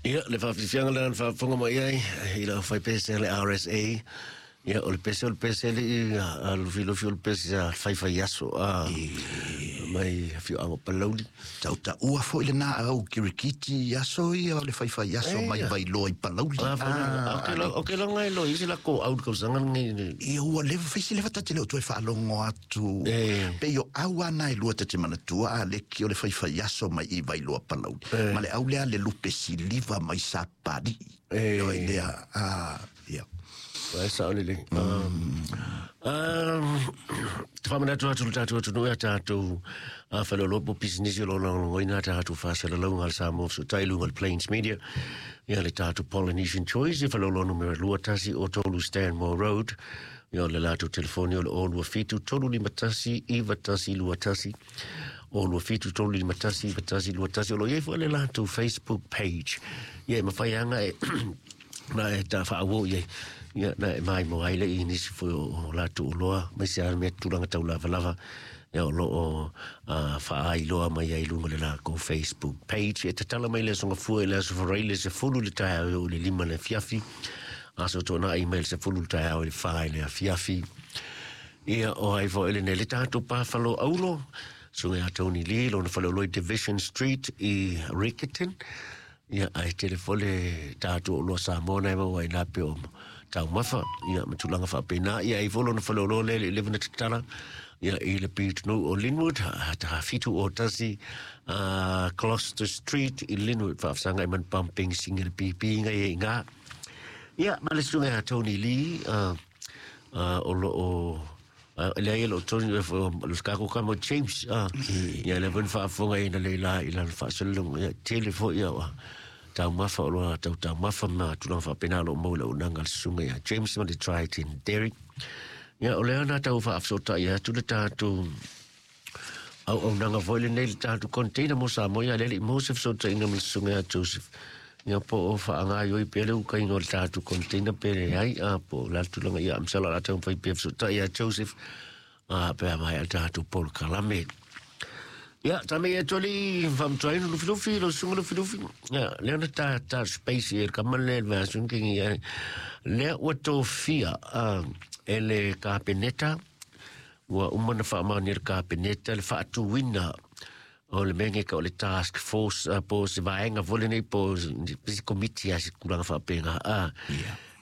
Ia, le faafiafiaga lena na faafofoga mai ai i le aufaipese a le RSA. Ia, o le pese o le pese alii a Lufilufi o le pese a faifaiaso a mai afioaga o Palauli. Tautaua foi lena au kirikiti i aso ia o le faifaiaso mai Vailoa i Palauli. O ke laga e loa i se lako au le tausaga lenei. Ia ua leva faisi leva ta te le o toe faalogo atu. Pei o au ana e lua ta te manatua a leki o le faifaiaso mai i Vailoa Palauli. Ma le au lea le lupe siliva mai Sapalii. Oi lea, ia. Ai sao lelei. Te faamanatu atu le tatou atunuu ia tatou faleoloa po pisinisi o lo o lagolagoina tatou faasalalauga a le Samoa Fesootai i luga o le Plains Media. Ia le tatou Polynesian Choice i faleoloa numera 2103 Stanmore Road. Ia o le latou telefoni o le 027 351 9121. 027 351 9121. O lo o i ai foi le latou Facebook page. Ia e mafai lava e na e ta faaauau i ai. Ia na e maimoa ai le i nisi foi o latou oloa, aemaise lava mea tulaga tau lavalava. Ia o lo o faaailoa mai ai i luga o le latou Facebook page. E tatala mai le Aso Gafua i le Aso Faraile 10 le taeao e oo i le 5 le afiafi. Aso Toonai mai le 10 le taeao i le 4 i le afiafi. Ia o ai foi lenei le tatou pafalo aulo, susuga ia Tony Lee, lona faleoloa i Division Street i Riccarton. Ia ae tele foi le tatou oloa Samoa na e maua ai na pe o taumafa, ia ma tulaga faapena. Ia ai foi lona faleoloa lea le 11 na tatala, ia i le pitonuu o Linwood, ta 71 Gloucester Street i Linwood, faafesagai ma le pumping singa le pipiga i ngā. Ia, ma le susuga ia Tony Lee, o lo o leai e lo Tony o le tatou tama James, ia lea foi na faafofoga i na leila i lana faasalalauga, ia tele foi ia taumafa o loa tau taumafa ma tulaga faapena o lo o maua i le auaunaga a le susuga ia James ma le Triton Derrick. Ia o lea na tau faafesootai atu le tatou auaunaga foi lenei le tatou container mo Samoa, ia lea le i maua se fesootaiga ma le susuga ia Joseph. Ia po o faagaoioi pea le ukaiga o le tatou container pe leai, a po o le a le tulaga, ia masalo o le a taumafai pea fesootai ia Joseph pe a maea le tatou polokalame. Ia, tame ia toli faamatuaina Lufilufi, lau susuga Lufilufi. Ia, lea na ta ta space i le kama lea le vaiaso kengi ia. Lea ua tofia e le Kapeneta, ua uma na faamaonia e le Kapeneta le faatuina o le mea nei o le task force po o se vaega foi lenei po o se komiti a se tulaga faapena.